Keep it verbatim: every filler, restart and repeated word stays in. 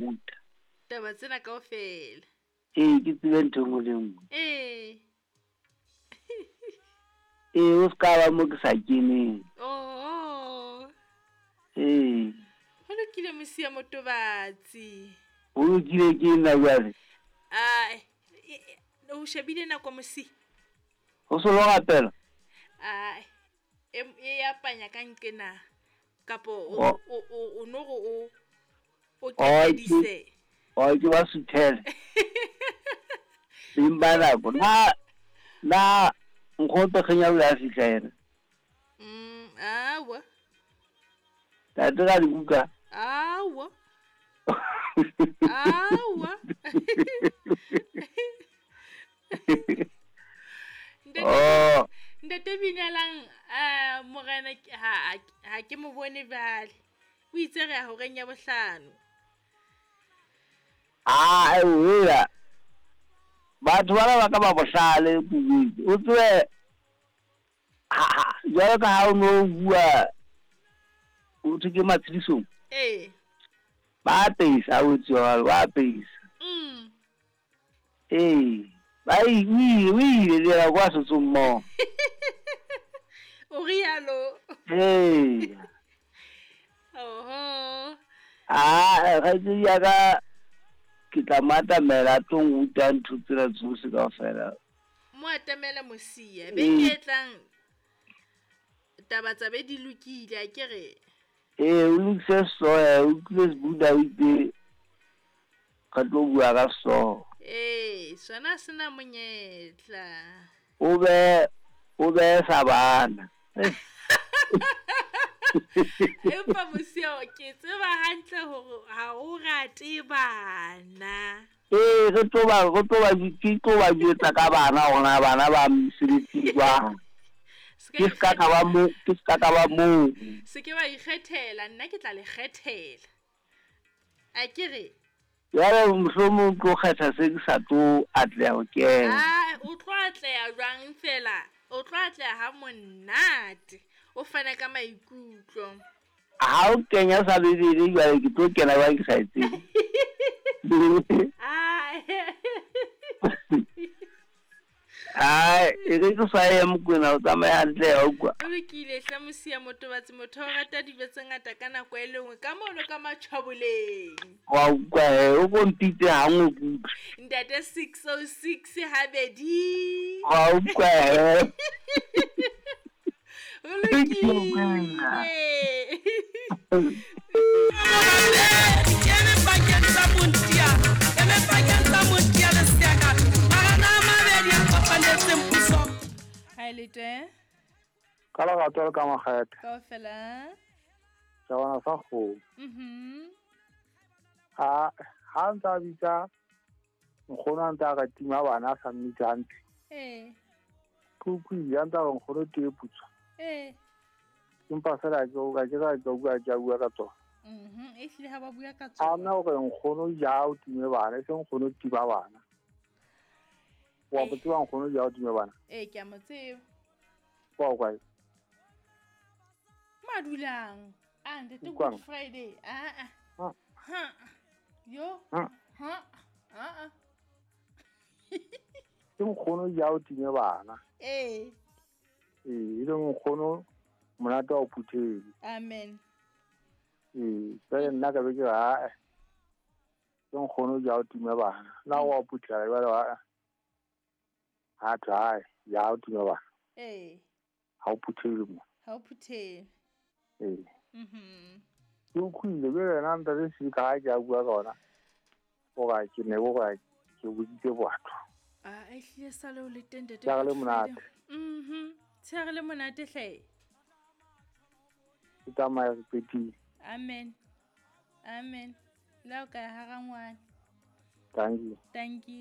Ruta. Taba tsena kaofela. Ee, ke tsebe ntho e nngwe le e nngwe. Ee. Ee, o ska ba mo ke sa keneng. Oho. Ee. Ho lokile Mosia Motobatsi. Ho lokile ke nna jwale. Ai, o shebile nako Mosia? Ho so lo rapela? Ai, e e ya panya ka nqena. Kapo o o o no go o o keledise. O ke ba suthele. Beng ba nako. Na na nkgope kgenya o ya fihla yena. Mm, awa. Tate ga dibuka. Awa. Awa. Oh. Ntate Binalang a morena ha ha ke mo bone jwale. O itse re ya horeng ya bohlano. Ah, ewela. Batho bana ba ka ba bohlale kudu. O tswe ha jwalo ka ha o no bua o thwe ke matshedisong. Eh. Ba apesa o tswa ba apesa. Mm. Eh, ba i o ile le ya kwa sotsong mo. O rialo. Eh. Oho. Ah, ga tse ya ka ke tla matamela tlo ruta ntho tsena tsohle kaofela. Mo atamela Mosia, beke e tlang taba tsa be di lokile a ke re. Eh, o lokise sehlooho, o utlwile Sebuda o itse re tlo bua ka sehlooho. Eh, sona se na monyetla. O be o be sa bana. Empa Mosia ke tseba hantle hore ha o rate bana. Eh, re tlo ba re tlo ba ke tlo ba jwetsa ka bana hore bana ba mosebetsi jwang. Ke ska ka ba mo, ke ska ka ba mo. Se ke ba ikgethela, nna ke tla le kgethela. A ke re. Jwale mohlomong tlo kgetha se ke sa tlo atleha ho kena. Ah, o tlo atleha jwang fela? O tlo atleha ha monate. O fana ka maikutlo. Ha o kenya sa Bibele jwale ke tlo kena jwang ke sa e tsebe. Ah. Ai, e re ke sa ya Mokwena o tsamaya hantle ha utlwa. O lokile hle Mosia Motobatsi, motho o rata dijo tse ngata ka nako e le nngwe ka mono ka matjhaboleng. Wa utlwa he, o ko mpitse ha nngwe ke utlwe. Ntate six oh six habedi. Wa utlwa he. O lokile. Hi Lete. Ka lerato le ka makgethe. Kaofela. Tjabana sa kgomo. Mhm. Ha ha ntsa bitsa nkgono a ntse a re tima bana a sa mmitse hantle. Eh. Ke utlwile a ntse a re nkgono tee putswa. Eh. Empa fela ke o ka ke ka ke bua ke bua ka tsona. Mhm, e hlile ha ba bua ka tsona. A nna hore nkgono ja o time bana, e seng nkgono tiba bana. Wa bo tseba nkgono ja o time bana. Eh, ke a mo tseba. Wa kae? Madulang. Ah, ntate Good Friday. Ah ah. Ha. Yo. Ha. Ah ah. Ke nkgono ja o time bana. Eh. Eh, e le nkgono monate wa o phuthele. Amen. Eh, jwale nna ka be ke re ae. Ke nkgono ja o time bana. Na wa o phuthela jwale wa ha try ya o time bana. Eh. Ha o phuthele mo. Ha o phuthele. Eh. Mhm. Ke utlwile jwale yena ntate Sika ha ke a bua ka ona. O ga ke ne go ga ke boditse batho. Ah, e hlile sale o le teng ntate. Tshehare le monate. Mhm. Tshehare le monate hle. Ke tsamaya re qetile. Amen. Amen. La o ka hara ngwana. Thank you. Thank you.